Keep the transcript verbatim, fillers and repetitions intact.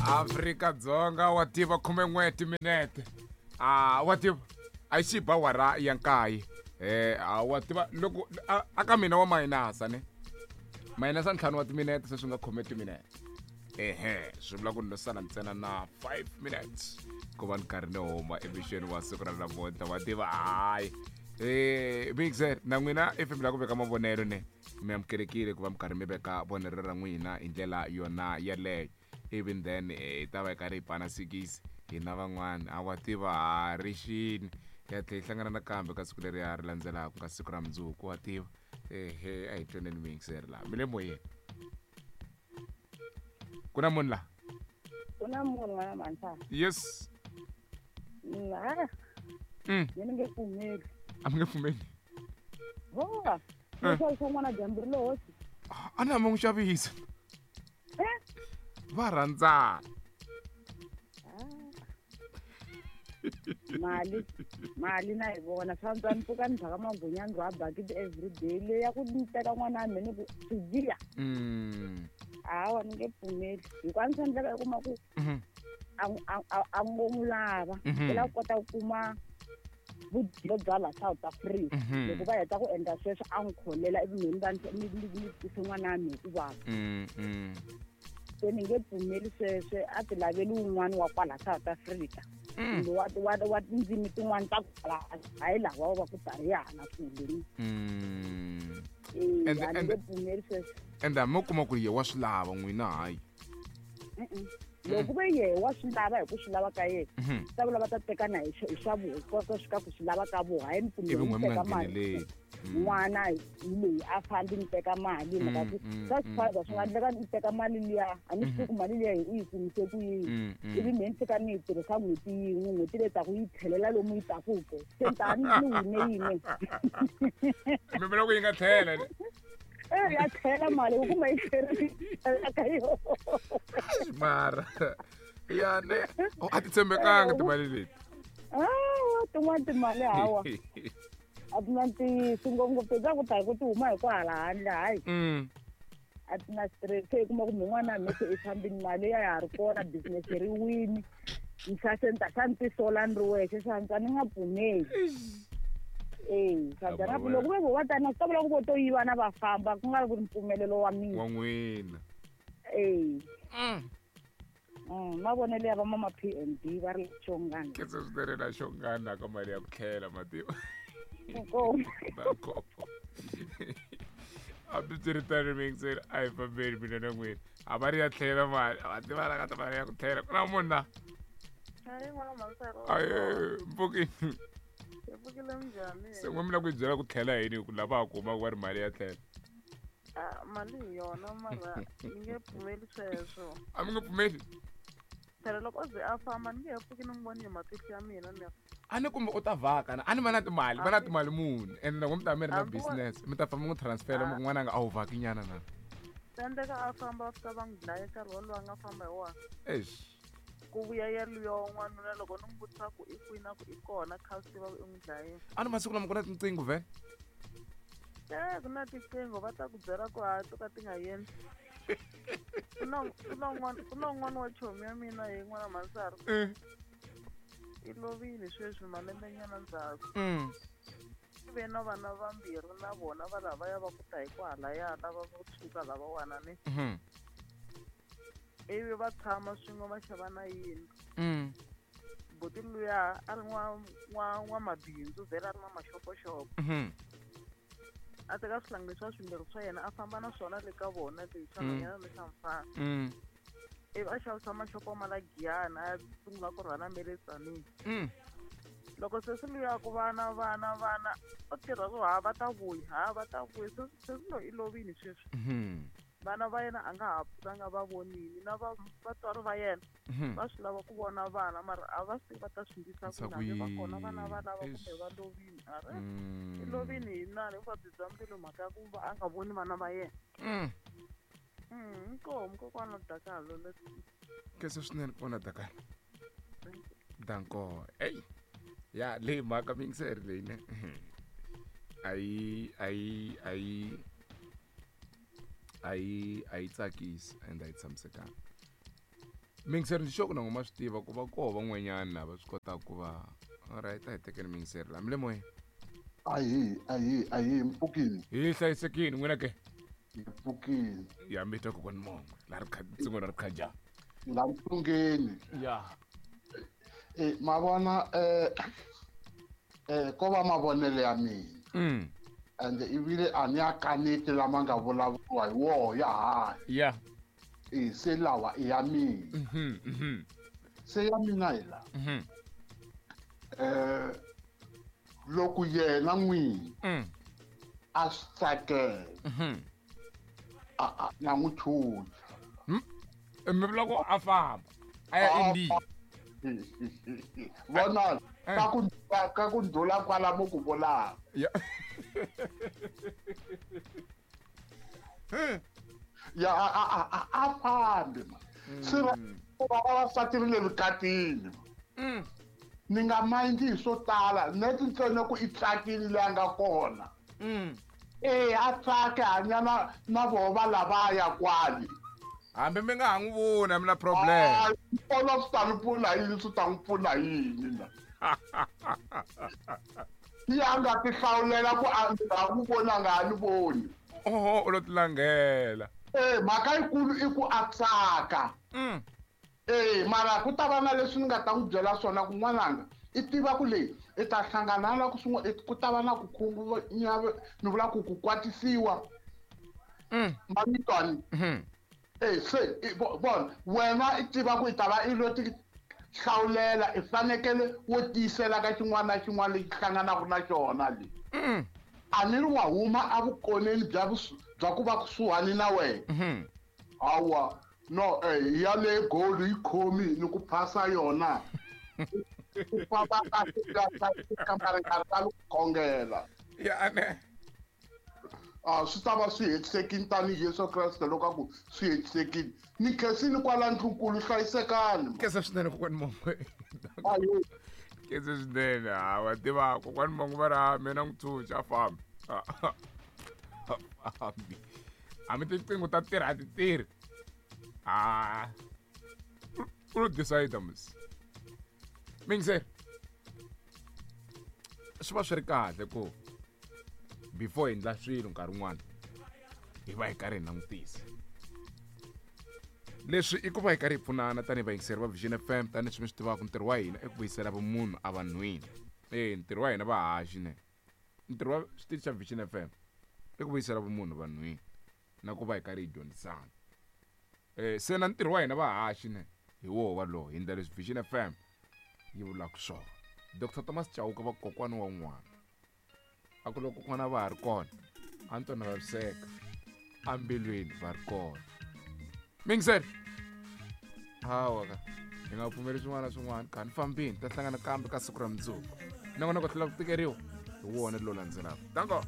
Afrika Dzonga wa tiva khume n'we timinete a wa tiva a yi xi ba wara ya nkaye eh a wa tiva loko a ka mina wa mayinasa ne mayinasa ntlhanu wa timinete se swi nga khome timinete ehe swi vula ku ni sala ntsena na five minutes ku va ni karhi ni huma emixweni wa siku ra namuntlha wa tiva hayi eh mixer na n'wina if mi lava ku veka mavonelo ne mi amukelekile ku va mi karhi mi veka vonelo ra n'wina hi ndlela yona yeleyo even then hi ta va hi karhi hi pana sikisi hina van'wana a wa tiva ha ri xini ya tlhe hi hlangana nakambe ka siku leri ya ri landzelaka ku nga siku ra mundzuku wa tiva ehe a hi tweneni mixer laha mi le moyeni ku na munhu laha ku na munhu n'wana mantshana yes ha mm. ni nge pfumeli a mi nge pfumeli hova Eh. xavisa n'wana dyambu ri le hosi a ni hamba n'wi xavisa Eh? va rhandzana mali mali na hi vona swa antswa ni pfuka ni byaka magwinya ni rhwa bakiti everyday leyi ya ku ni teka n'wana wa mina ni ku swijiya Mm. hawa ni nge pfumeli hikuva ni swi endleka i kuma ku Mhm. a a- a- a ngo n'wi lava Mhm. u lava ku kota ku kuma vudyelo bya la South Africa Mhm. loko va heta ku endla sweswo a n'wi kholela ivi mina ni va ni ni ni twise n'wana wa mina ku vava Mm, mm. se ni nge pfumeli sweswe a ti laveli wun'wana wa kwala South Africa Mm. kumbe wa wa wa tindzimi tin'wana ta kwala hayi lava va ku tarihana kule Mm. eh And- a ni and- nge pfumeli sweswo ende hambi mo kuma ku ri ye wa swi lava n'wina hayi Mm-mm. loko ve yehe wa swi lava hi ku swi lava ka yena Mhm. ta vula va ta tekana hi swa- hi swa voho kota swi ka ku swi lava ka voho hayi ni ivi pfumeli n'we ni mi nga teka mali ngheneleli Mm. n'wana hi loyi a fambi ni teka mali hi mhaka ku Mm, mm, swa mm, swifaza swi nga endleka ni teka mali liya a ni swi tivi ku mali liya hi u yi kumise ku yini Mm, mm. ivi mehe ni fika ni yi tirhisa n'hweti yin'we n'hweti leyi taku yi tlhelela lomu yi takuke se ni ta ni ni wine yini mi vula ku yi nga tlhela ne? e ya tlhela mali u kuma yi tlherile ka yona mara ya ne Oh, a ti tshembekanga timali leti hawa tin'wana timali hawa a ti na ntiyiso ngopfungopfu ta ku ta hi ku ti huma hi ku hala handle hayi Mm. a ti na stress se i kuma ku min'wana ya mese i fambini mali ya ha ri kona business ri wini nxa se ni ta xa ni tisola ni ri wexe swa antswa ni nga pfumeli e swa antswa na ku loko ve vo va tana swi ta vula ku vo to yiva na va famba ku nga ri ku ri mpfumelelo wa mina wa n'wina e Mm. Mm, mavonelo ya va mama P and B va ri xongana khensa swinene na xongana ka mali ya ku tlhela mativa Inkomu. Danko. Hambi swi ri tano mixer a hi fambeni mina na n'wina a va ri ya tlhela mali a va tiva ka ta mali ya ku tlhela ku na munhu na Hayi n'wana Mansaro. aye mpfukini Hi pfukile minjhani? se n'we mi lava ku yi byela ku tlhela yini hi ku lava ha kuma ku va ri mali ya tlhela Ah, mali hi yona mara ni nge pfumeli sweswo. a mi nge pfumeli Phela loko o ze a famba ni nge he pfuki ni n'wi voni hi matihlo ya mina ni a ni kumbe u ta vhaka na a ni va na timali va na timali muni ende loko mi ta mi ri na Hambi wa- business mi ta famba mi n'wi transfera mi ku n'wana nga a wu vhaki nyana na swi endleka a famba a fika va n'wi dlaya nkarhi wolowo a nga famba hi wona. Eish Ku vuya ya luya wa n'wanuna loko ni n'wi vutisa ku i kwini a ku i kona kha swi tiva ku i n'wi dlayile. a ni masiku lama ku na tinqingho vhele Eh, ku na tiqingho va ta ku byela ku ha to ka ti nga yendli. Ku na ku na un'wana ku na un'wana wa chomi ya mina hi n'wana Mansaro. Mm. I lovile sweswi malembenyana ndzhaku. Mm. I ve na vana vambirhi na vona va lavaya va ku ta hi kwahalaya lava vo tshuka lavawani ni Mhm. ivi va tshama swin'we va xava na yindlu Mm. buti luya a ri n'wa n'wa n'wamabindzu vhele a ri na maxopoxopo Mhm. a teka swihlangi leswiya swimbirhi swa yena a famba na swona le ka vona le xa Mm. nhwanyana ni xa mufana Mm. ivi a xavisa maxopo ma la Giyani a ya sungula ku rhwala me le Tzaneen Mm. loko sesi luya ku vana vana vana u tirha ku ha va ta vuya ha va ta vuya sesi sesi loyi i lovile sweswi Mhm. vana va yena a nga ha pfukanga va vonile na va vatswari va yena Mhm. va swi lava ku vona vana mara a va swi tivi va ta swi endlisa Endlisa ku yini hambi va kona vana ku va lava yini? kumbe va lovile a ri Mm. i lovile hi nani vuvabyi bya mbilu mhaka ya ku va a nga voni vana va yena Mm. Mm, inkomu kokwana Dakalo le Khensa swinene ku vona Dakalo danko eyi ya leyi mhaka miyingiseri leyi ne a yi a yi a yi a yi a yi tsakisi and a yi tshamisekanga Mingiseri ni xoko na ngoma swi tiva ku va koho van'wanyana lava swi kotaka ku va alright a hi tekeni mingiseri la mi le moyeni. Ahi ahi ahi mpfukini. Hi hlayisekile n'wina ke? Hi mpfukini. Ya mi twa kokwani Mongwe la ri kha tsingo ra ri khaja. La mpfungeni. Ya. Eh ma vona eh eh ko va mavonelo ya mina. Mm. And ivile a ni ya kaneti lama nga vulavuriwa hi woho ya hanya. Ya. Eh se lawa i ya mina. Mhm mhm. Se ya mina hi la. Mhm. Eh loko yena n'wini mm. a swi tsakela mhm. a a na n'wi chucha. Mi vula ku a famba a ya India. Vona ka ku ka ku ndlula kwala mo ku vulaka. Ya. Ya a a a a fambi ma. Se va va vavasati ri le vukatini. Mm. Ni nga mindzi hi swo tala neti ntsena ku i tsakile leyi a nga kona. Mm. Eh a tsake hanya na na voho va lavaya kwale. Hambi mi nga ha n'wi voni a mi na problem. Vona swi ta ni pfuna yini swi ta n'wi pfuna yini na. Ya nga ti hlawulela ku a nga n'wi voni a nga ha ni voni. Oho u lo ti langela. Eh mhaka yikulu i ku a tsaka. Mm. Eh mara ku ta va na leswi ni nga ta n'wi byela swona ku n'wananga i tiva ku leyi i ta hlangana na ku swin'we ku ta va na ku khungunya ni vula ku ku kwatisiwa. Mm. Mamitwani. Mhm. Eh se vona wena i tiva ku i ta va i lo ti hlawulela i fanekele wo tiyisela ka xin'wana na xin'wana lexi hlanganaka na xona le. Mm. A ni ri wa huma evukoneni bya bya ku va kusuhani na wena. Mhm. Hawa no eh ya le gold yi khomi ni ku phasa yona. Ku famba kahle kahle kambe ri nga ku khongela. Ya ane. Ah swi ta va swi hetisekile tanihi Yesu Kreste loko a ku swi hetisekile. Ni khensile kwala ndlunkulu hlayisekani. Khensa swinene kokwani Mongwe. Ayo. Khensa swinene ha wa tiva kokwani Mongwe va ri mina n'wi tshunxa a fambi. A fambi. Hambi tinqingho ta tirha a ti tirhi. Ah. U lo decide mos. Mingiseri. Swi va swi ri kahle ku before hi endla swilo nkarhi wun'wana hi va hi karhi hi langutisa. Leswi i ku va hi karhi hi pfunana tanihi vayingiseri va Vision F M tanihileswi mi swi tivaka ntirho wa hina i ku vuyisela vumunhu evanhwini. Eh ntirho wa hina vahaxi ne. Ntirho wa xitichi xa Vision F M i ku vuyisela vumunhu evanhwini na ku va hi karhi hi dyondzisana. Eh se na ntirho wa hina vahaxi ne hi woho walowo hi endla leswi Vision F M yi vulaka swona. Doctor Thomas Chauke va kokwani wa n'wana. A ku loko kokwana va ha ri kona a ni twa na vaviseka embilwini va ri kona. Mingiseri. Hawa ka hi nga pfumeli swin'wana na swin'wana ka ni fambini ta hlangana kambe ka siku ra mundzuku. Nongonoko tlhela ku tikeriwa hi wona lowu landzelaka. Danko.